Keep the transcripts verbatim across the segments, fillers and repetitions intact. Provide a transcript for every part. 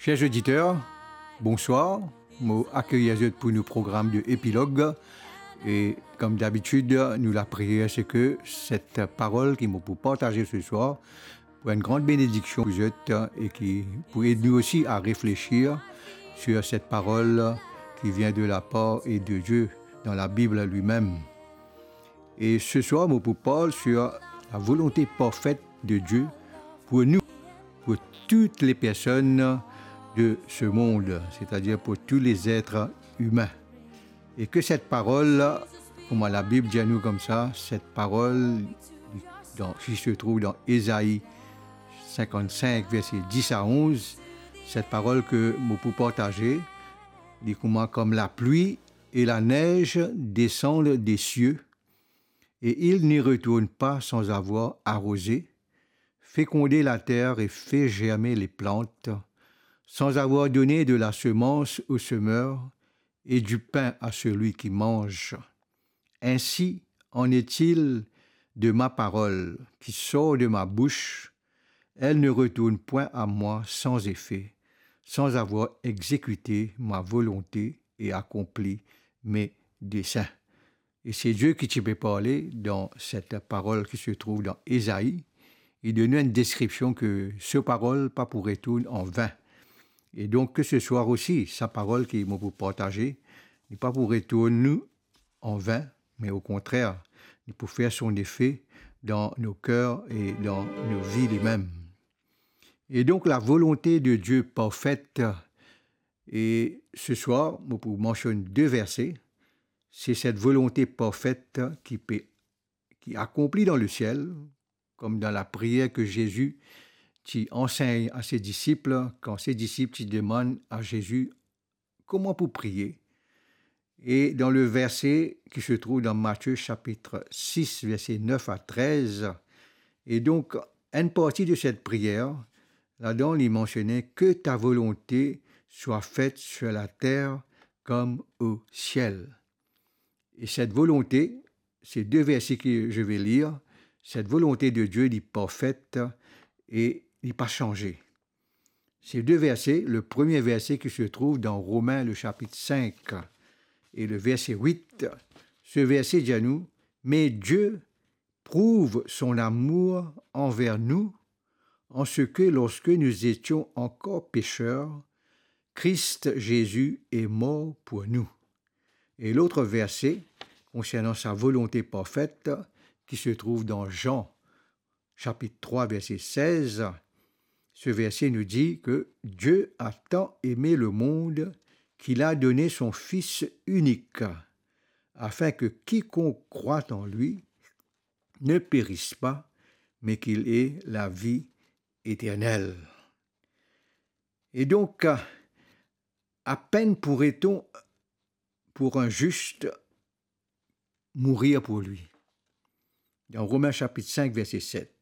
Cher oditer, bonswar. Mo akeyir zot pou nou program de Epilog. E kom dabitid, nou lapriyer se ke set parol ki mo pou partaze se swar pou enn gran benediksion pou zot e ki pou ed nou osi a reflesir sur set parol ki vien de lapar e de Die dan Labib limem. E se swar, mo pou parl sur la volonte parfet de Die pou nou, pou tou le personn de se mond, setadir pou tou le zer imin. E ke set parol, kouma Labib dir nou koumsa, set parol, dan, ki se trouv dan Ezai sinkant-sink, verse dis a onz, set parol ke mo pou partaze, li kouma kom lapli et la neige descendent des cieux, et il n'y retourne pas sans avoir arrosé, féconder la terre et fait germer les plantes, sans avoir donné de la semence au semeur et du pain à celui qui mange. Ainsi en est-il de ma parole qui sort de ma bouche, elle ne retourne point à moi sans effet, sans avoir exécuté ma volonté et accompli mes desseins. E se Die ki ti pe parle dan set parol ki se trouv dan Ezai. Li donn nou enn deskripsion ke so parol pa pou retourn an vin. E donk, ke se swar osi, sa parol ki mo pou partaze, li pa pou retourn nou an vin, me okontrer, li pou fer son efe dan nou ker e dan nou vi limem. E donk, la volonte de Die parfet, e se swar, mo pou mansionn de verse, se set volonte parfet ki pe, ki akonpli dan lesiel, kom dan lapriyer ke Zezi ti ansegn a se disip, kan se disip ti demann a Zezi kouma pou priye. E dan le verse ki se trouv dan Matie sapit sis, verse nef a trez, e donk, enn parti de set priyer, ladan li mansione, que ta volonté soit faite sur la terre comme au ciel. E set volonte, se de verse ke je vais lire, set volonte de Die, li parfet e li pa sanze. Se de verse, le premie verse ki se trouv dan Romin, le sapit sink e le verse wit, se verse dir nou, mais Dieu prouve son amour envers nous en ce que, lorsque nous étions encore pécheurs, Christ Jésus est mort pour nous. E lot verse konsernan sa volonte parfet ki se trouv dan Zan, sapit trwa, verse sez, se verse nou dir ke Dieu a tant aimé le monde qu'il a donné son Fils unique, afin que quiconque croit en lui ne périsse pas, mais qu'il ait la vie éternelle. E donk, à peine pourrait-on, pour un juste, mourir pour lui. Dan Romin sapit sink, verse set.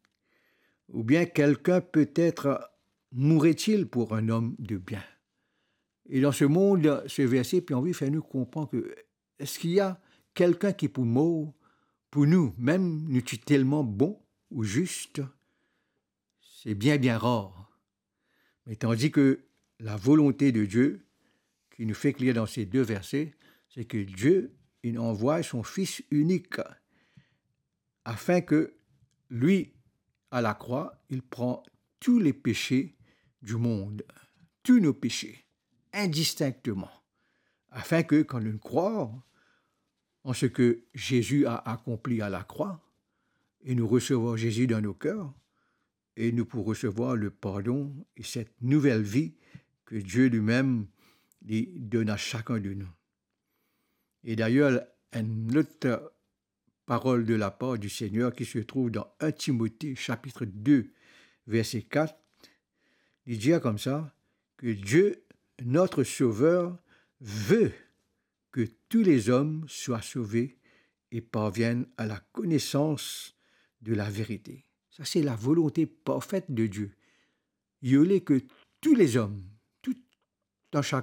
Ou bien quelqu'un peut-être mourrait-il pour un homme de bien. E dan se mond, se verse pe anvi fer nou konpran ke eski ena kelkenn ki pou mor pou nou, mem nou ti telman bon ou zis? Se bien, bien rar. Me tandi ke la volonte de Die, ki nou fek lir dan se de verse, se ke Die, il a envoyé son Fils unique, afin que lui, à la croix, il prend tous les péchés du monde, tous nos péchés, indistinctement, afin que, quand nous croyons en ce que Jésus a accompli à la croix, et nous recevons Jésus dans nos cœurs, e nou pou resevwar le pardon e set nouvel vi ke Die limem li donn a sakenn de nou. E dayer, enn lot parol de lapar du Seigneur ki se trouv dan un Timote sapit de, verse kat, li dir koumsa, que Dieu, notre Sauveur, veut que tous les hommes soient sauvés et parviennent à la connaissance de la vérité. Sa se la volonte parfet de Die. Li le ke tou lezom, tou, dan sa